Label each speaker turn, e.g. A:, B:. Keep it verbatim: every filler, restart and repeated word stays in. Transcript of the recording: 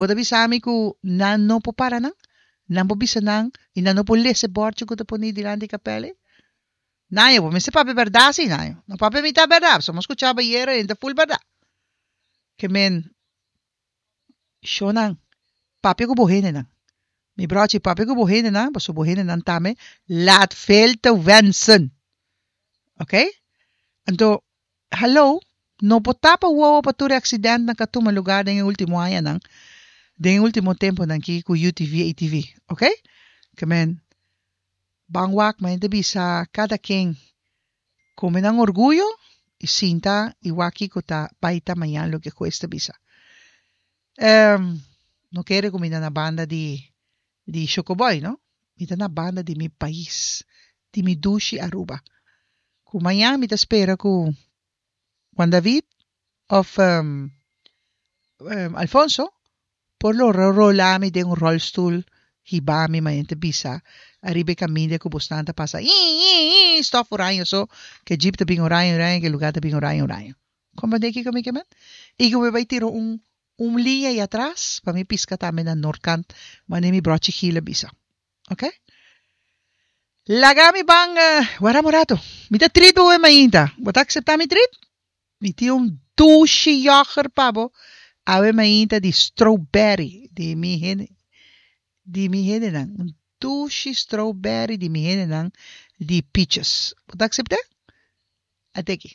A: Bo ta bisa mi ku nan no por para nan? Nan por bisa nan i nan no por lesa e bòrchi ku ta pone dilanti di kapèl ei? Nayo, bo mester papia bèrdat si, Nayo. No papia mitá bèrdat, pasobra mi a skuchá bo ayera i ta ful bèrdat. Ke men, shonnan, papia ku bo hendenan. Mi brochi, papia ku bo hendenan, pasobra bo hendenan tambe laat veel te wensen. Ok? Anto, hallo, no por tapa wowo pa tur e aksidentnan ku a tuma lugá den e último añanan, den e último tempunan aki ku U T V, A T V. Ok? Ke men, ban wak, ma hende bisa kada ken kome nan orguyo i sinta i wak kiko ta bai ta mañan, loke hues ta bisa. Um, no kere ku mi ta na banda di di Chocoboy, no? Mi ta na banda di mi pais, di mi dushi Aruba. Ku mañan mi ta spera ku Juan David of um, um, Alfonso por lo rola mi den un rolstoel hiba mi mañana bisa ariba kaminda ku bosnan ta pasa i i i stof oraño so ke jeep ta bin oraño oraño, ke lugá ta bin oraño oraño. Komprendé kiko mi ke men? I ku mi bai tira un un liña ei atras pa mi piska tambe na noordkant, manera mi brochi Gil a bisa. Ok? Laga mi ban uh, wara un rato. Mi ta treat bo mainta. Bo ta akseptá mi treat? Mi tin un dushi yoghurt pa bo. Awe mainta di strawberry di mi hende di mi hendenan. Un dushi strawberry di mi hendenan di Peaches. Bo ta akseptá? At'é aki.